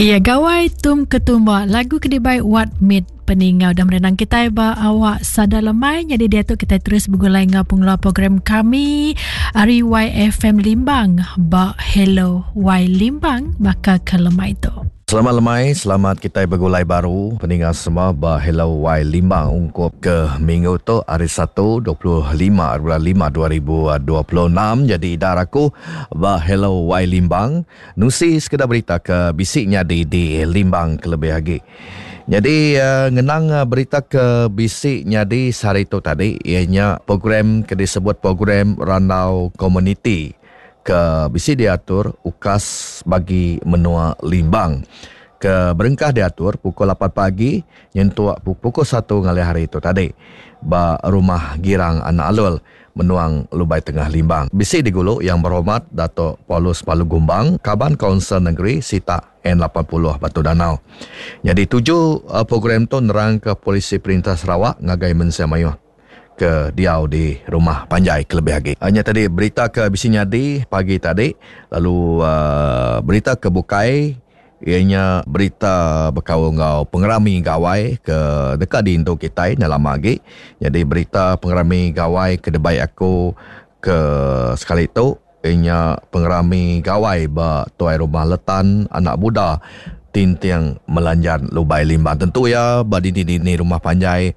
Iya Gawai Tum Ketumba lagu ke dibai Wat Mit peningau dan merenang kitai ba awak sada lemai nyadi diatu kitai terus begulai enggau pengeluar program kami ari YFM Limbang ba Hello Y Limbang baka ke lemai tu. Selamat lemai, selamat kitai begulai baru peninga semua ba Hello Y Limbang ungkup ke minggu tu hari Satu 25 bulan 5 2026 jadi idar aku ba Hello Y Limbang Nusi sekeda berita ke bisi nyadi di Limbang kelebih agi. Nyadi ngenang berita ke bisi nyadi sehari tu tadi iya nya program ke disebut program Randau Komuniti ke bisi diatur UKAS bagi menua Limbang ke berengkah diatur pukul lapan pagi nyentuk pukul satu ngalih hari tu tadi ba Rumah Girang Anak Alul. Menuang Lubai Tengah Limbang. Bisi digulu Yang Berhormat Dato Paulus Palu Gumbang, Kaban Kaunsil Nengeri Sitak N 80 Batu Danau. Nyadi tuju program tu nerangka polisi Perintah Sarawak ngagai mensia mayuh ke diau di rumah panjai kelebih agi. Nya tadi berita ke bisi nyadi pagi tadi lalu berita ke bukai Iya nya berita bekaul enggau pengerami gawai ke deka diintu kitai enda lama agi. Nyadi berita pengerami gawai ke dibai aku ke sekali tu iya nya pengerami gawai ba Tuai Rumah Letan Anak Buda Tinting Melanjan Lubai Limbang. Tentu iya ba dini-dini rumah panjai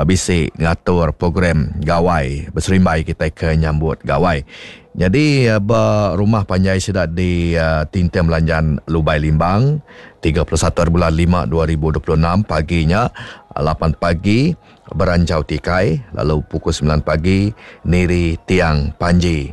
bisi ngatur program gawai beserimbai kitai ke nyambut gawai. Nyadi ba rumah panjai sida di Tinting Melanjan Lubai Limbang, 31 hari bulan lima 2026 pagi nya lapan pagi beranchau tikai lalu pukul semilan pagi niri tiang panji.